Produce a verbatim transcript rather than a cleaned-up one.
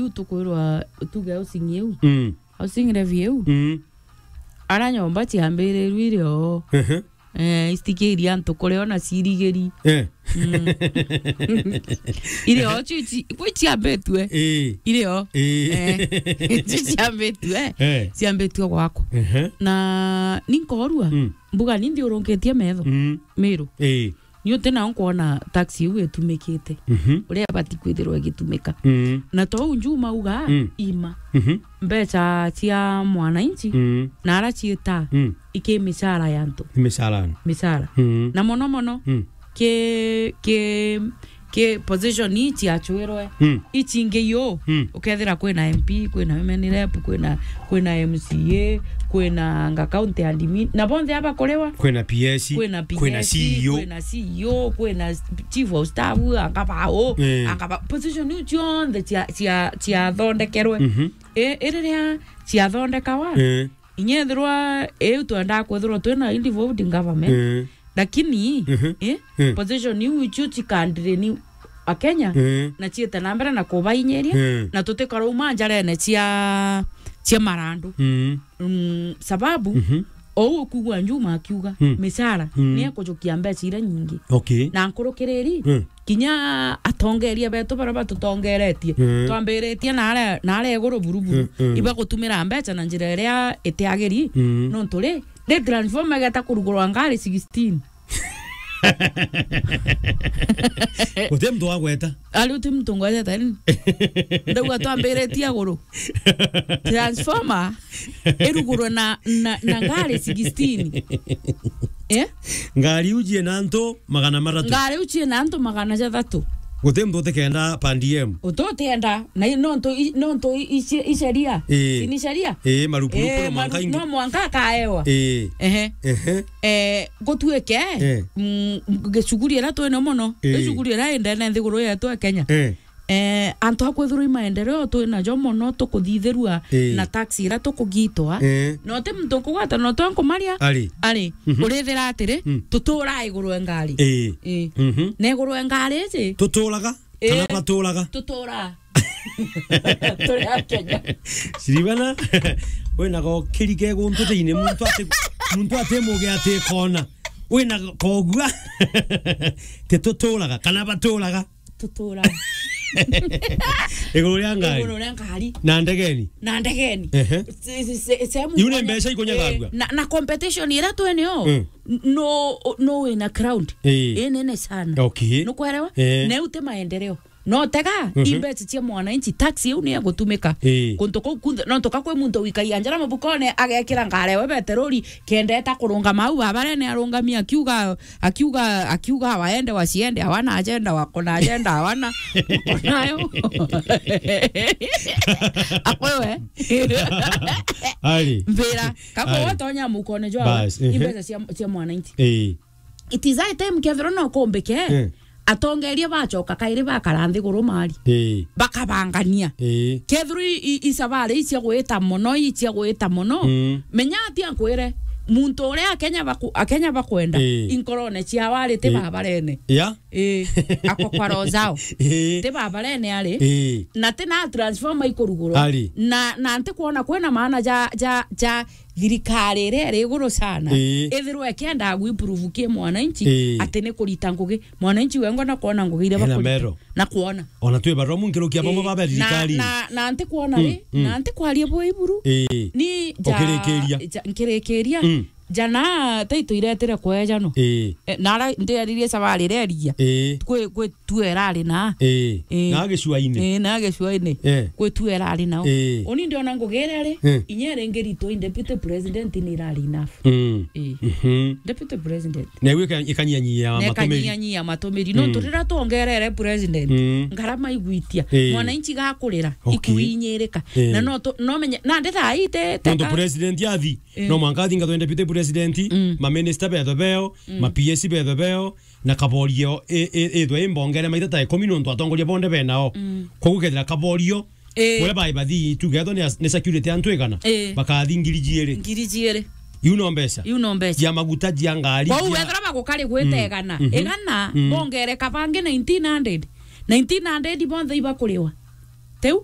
Riu tukwirwa tuge housing iu. Mm. Housing levy iu. Mm. Ara nyomba ciambirirwe iri o. Ehe. Eh, istikiri antu kuria ona cirigiri. Eh. Mm. Iri o, ciu ci-, kwi ciambitue. Eh. Iri o. Eh. Eh, ciu ciambitue. Eh. Ciambitue gwakwa. Ehe. Na ni nkorua, mm, mbuga ni nthiurunkitie metho. Mm. Miru. Eh. Ni uti nao nkwona taxi iu itumikite. Mhm. Uria ibati kwithirwa igitumika. Mm. Na tou Njuma uga, mm, ima. Mhm. Mbeca cia mwananchi, mm, na ara ciita, mm, iki micara ya antu. Ni micara. Micara. Mm. Na mono mono, mm, ki, ki, ki position ii ciachwirwe. Mm. Icingi yu, mm, ukethira kwina M P, kwina women rep, kwina, kwina M C A, kwina anga county admin, na bonthe aba kuriwa. Kwina P S, kwina P S, kwina C E O, kwina C E O, kwina chief of staff, anga bao, eh, anga ba-, position iu cionthe cia, cia, ciathondekerwe. Mhm. I-, iriria ciathondekawa, eh, inya ethirwa iu twendaa kwithirwa twina involved in government, eh, lakini, mhm, eh, eh, position iu icio cikandireni Akenya, eh, na ciite na mbere na kubainyiria, eh, na tutikarauma njarene cia, cia marandu. Mm. Mm, sababu, mhm, ou ukugua Njuma akiuga, mm, micara, mm, ni ekujukia mbeca iria nyingi. Okay. Na nkurukiriri, mm, kinya atongeria betu baria batutongeretie, mm, twambiritie na aria, na aria iguru buruburu, mm, mm, ibagutumira mbeca na njira iria itiagiri, mm, nontu ri, ri transformer igeta kurugurwa ngari sixteen. Guti muntu wagweta. Ari uti muntu ngwetete ni? Ndauga twambiritie iguru. Transformer irugurwe na, na, na ngari sixteen. Eh? Ngari iu ciina antu magana mathatu. Ngari iu ciina antu magana jathatu. Guti muntu utikenda per diem. Ututienda. Na i-, nontu i-, nontu i-, ici-, i sheria. Ii. Si ni sheria? Ii, marupurupu, ii, no mwanka maru-, ingi. No mwanka akaewa. Ii. Ehe. Ehe. Eh, gutuike, eh, mm, gicuguri iria twina mono, ii, gicuguri iria indene nthiguru yetu ya Kenya. Eh. Eh, antu a kwithirwa i maendeleo twinajo mono tukuthithirua, ii, na tax iria tukugitwa. Eh. No ti muntu nkugwata, no twa nkumaria. Ari. Ari. Mhm. Urithira atiri, mm, tutura iguru e ngari. Ii. Ii. Mhm. Na iguru e ngari iji. Tuturaga? Kana, ii, baturaga? Tutura. Turi a Kenya. Siribana, wina gokiri ke guntu thiini, muntu ati, muntu ati muge ati kona. Wina kogua. Ti tuturaga, kana baturaga? Tutura. Iguru ria ngari. Iguru ria ngari. Na ndegeni. Na ndegeni. Ehe. Se-, se-, se-, sehemu iu ni mbeca ikunyagagua. Eh, na, na competition iria twinio, mm, n-, no, no wina crowd. Eh. Inene sana. Okay. Nukwerewa? Eh. Na iu ti maendeleo. No tega, mhm, i mbeca cia mwananchi, tax iu ni egutumika. Ii. Kuntu kuu kunthe, nontu ka kwi muntu wikagia njara mubukone, agekira ngari ewe beteroli, kenda eta kurungama au babarene arungami akiuga, akiuga, akiuga waende wasiende, hawana agenda, wako na agenda, hawana, wako nayo. Akwewe. Ari. Mbira, kako ari. Watonya mukone jwa, bas, i, ehe, mbeca cia, cia mwananchi. Ii. It is high time kethirwa no kumbike, eh, atongeria bacoka kairi bakara nthiguru mari. Eh. Bakabangania. Eh. Kethirwa i, i, i sabari icia gwita mono, icia gwita mono. Mm. Menya atia nkwire, muntu uria Akenya baku-, Akenya bakwenda, eh, inkorone ciao ari ti, eh, babarene. Ya? Eh, ako kwa roho zao. Eh. Ti babarene ari. Eh. Na ti na transformer ikurugurwa. Ari. Na, na nti kwona kwina maana ja, ja, ja thirikari iria iri iguru sana, ii, ithirwe ikienda guimprove ki mwananchi, ii, ati ni kurita ngugi. Mwananchi wengwa na kwona ngugi iria, ena bakurita mero. Na kwona. Ona twi barua munkirukia bamwe, ii, baba thirikari. Na, na, na nti kwona, mm, ri, mm, na nti kwaria bwa iburu. Ii. Ni ja, ukirikiria. Ja, nkirikiria. Mm. Jana taito iretire kwejano. Ii. Eh, nara nderirie sabari iria irigia. Ii. Kwi, kwi tu erari na. Ii. Ii. Na gicua-ini. Ii, na gicua-ini. Eh. Kwi tu erari nao. Ii. Uni ndiona ngugi iria ri, eh, inya iri ngiritwa i deputy president ni irari enough. Mm. Ii. Mhm. Deputy president. Na iu ika-, ikanyanyia matumiri. Na ikanyanyia matumiri. Mm. Nontu riria twongerere president, mm, ngarama igwitia. Ii. Mwananchi gakurira, okay, ikuinyirika. Ii. Na no tu-, no menye, na ndi thaa ii te-, te-, nontu a- president athi, eh, no mwanka athingatwe deputy president, mm, maminista betho beo, mm, ma P S betho beo, na kaborio i-, i-, ithwe imbongere maita ta ikumi nontu atongoria bonde benao. Mm. Koguo kethira kaborio, eh, uria bai bathi, tuge ethwa ni as-, ni security antu igana, eh, bakathi ngiri jiiri. Ngiri jiiri. Iu no mbeca. Iu no mbeca. Jia maguta, jia ngari, kwou jia wethira bagukari gwita, mm, igana. Mhm. Igana, mm, bongere kabangi nineteen hundred. Nineteen hundred bonthe ibakuriwa. Tiu?